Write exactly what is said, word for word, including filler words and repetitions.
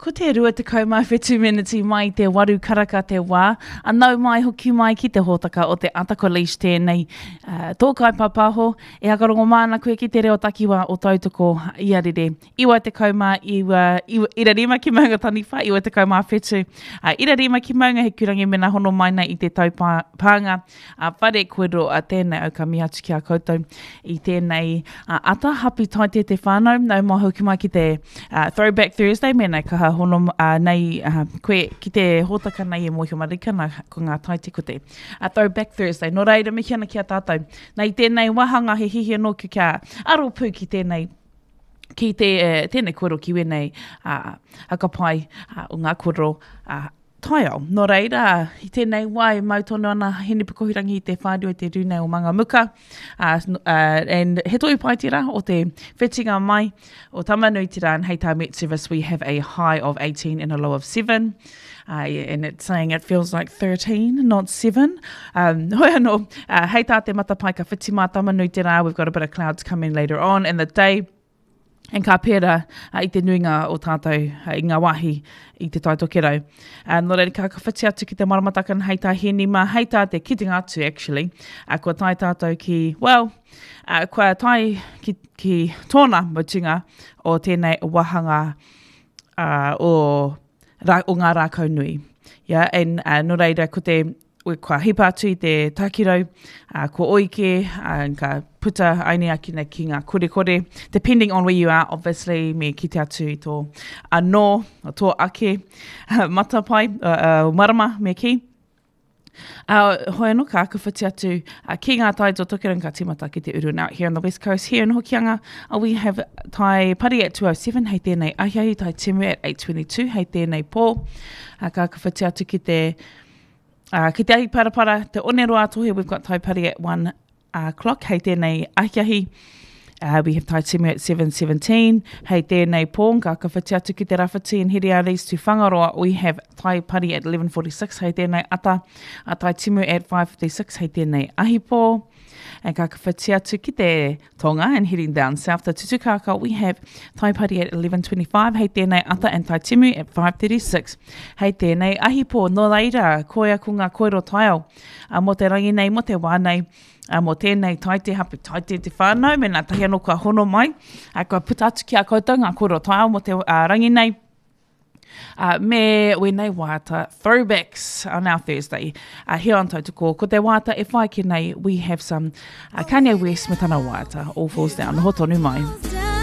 Ko te rua tekau mā whitu meneti mai te waru karaka te wā, a nau mai hoki mai ki te hōtaka o te Ata ko Leish tēnei. Uh, tō kaipāpāho, e hakarongo māna koe ki te reo takiwā o Tautoko i Arere. Iwa tekau mā iwa, iwa, ira rima ki Maunga Taniwha, iwa tekau mā whitu. Uh, ira rima ki Maunga Hikurangi mena hono mai nei i te tau pā, pānga a whare koero a tēnei au ka mihi atu ki a koutou i tēnei uh, ata. Happy taite te whānau, nau mai hoki mai ki te uh, Throwback Thursday, mēnā kaha hono uh, nei uh, koe ki te hōtaka nei e mōhio marika nā ko ngā taite ko te uh, Throwback Thursday. Nō reira mihi ana ki a tātou. Nei tēnei wāhanga he hihi anō ki kia aro pū ki tēnei ki te, eh, tēnei kōrero ki wēnei uh, hakapai uh, o ngā kōrero uh, taiao. Nō reira, i tēnei wā e mau tonu ana Hinepukohurangi i te whānau i te rūnei o Mangamuka. Uh, uh, and he tohu pai tērā o te whitinga mai o Tamanuiterā, and hei tā Met Service we have a high of eighteen and a low of seven. Uh, and it's saying it feels like thirteen, not seven. Um, hoi anō, uh, hei tā te matapae ka whiti mā Tamanuiterā, we've got a bit of clouds coming later on in the day. And ka pērā uh, i te nuinga o tātou uh, i ngā wāhi i te Tai Tokerau. Uh, nō reira, ka ka whiti atu ki te maramataka hei tā Heni mā, hei tā te kitenga atu actually. Uh, kua tae tātou ki, well, uh, kua tae ki, ki tōna mutunga o tēnei wāhanga uh, o, rā, o ngā rākau nui. Yeah, and uh, nō reira, ko te kua hipa atu i te takirau, uh, ko oike, uh, ka puta aini akina ki ngā korekore. Depending on where you are, obviously, me kite atu i tō anō, tō ake matapae, uh, uh, marama me ki. Uh, hoi anō ka whiti atu uh, ki ngā tai o Tokerau ka tīmata ki te uru. Now, here on the west coast, here in Hokianga, uh, we have tai pari at two oh seven, hei tēnei ahiahi, tai timu at eight twenty-two, hei tēnei pō. Uh, ka whiti atu ki te, uh, ki te ahi parapara, te oneroa tohe, we've got tai pari at one o'clock, hei tēnei ahiahi. Uh, we have tai timu at seven seventeen, hei tēnei pō, ka whiti atu ki te rawhiti in Hiriaris to Whangaroa, we have tai pari at eleven forty-six, hei tēnei ata, a tai timu at five fifty-six, hei tēnei ahi pō. And ka whiti atu ki te tonga and heading down south to Tutukaka, we have tai pari at eleven twenty-five, hei tēnei ata, and tai timu at five thirty-six, hei tēnei ahi pō. Nō reira, koia ko ngā koero taiao, uh, mō te rangi nei, mō te wā nei, uh, mō tēnei taite hapu taite te whānau, me nā tahi anō kua hono mai, uh, kua puta atu ki a koutou ngā koero taiao mō te uh, rangi nei. Uh, me wēnei waiata throwbacks on our Thursday. Uh, here on Tautoko, ko te waiata e whai ki nei, we have some, uh, Kanye West me tana waiata, All Falls Down. Noho tonu mai.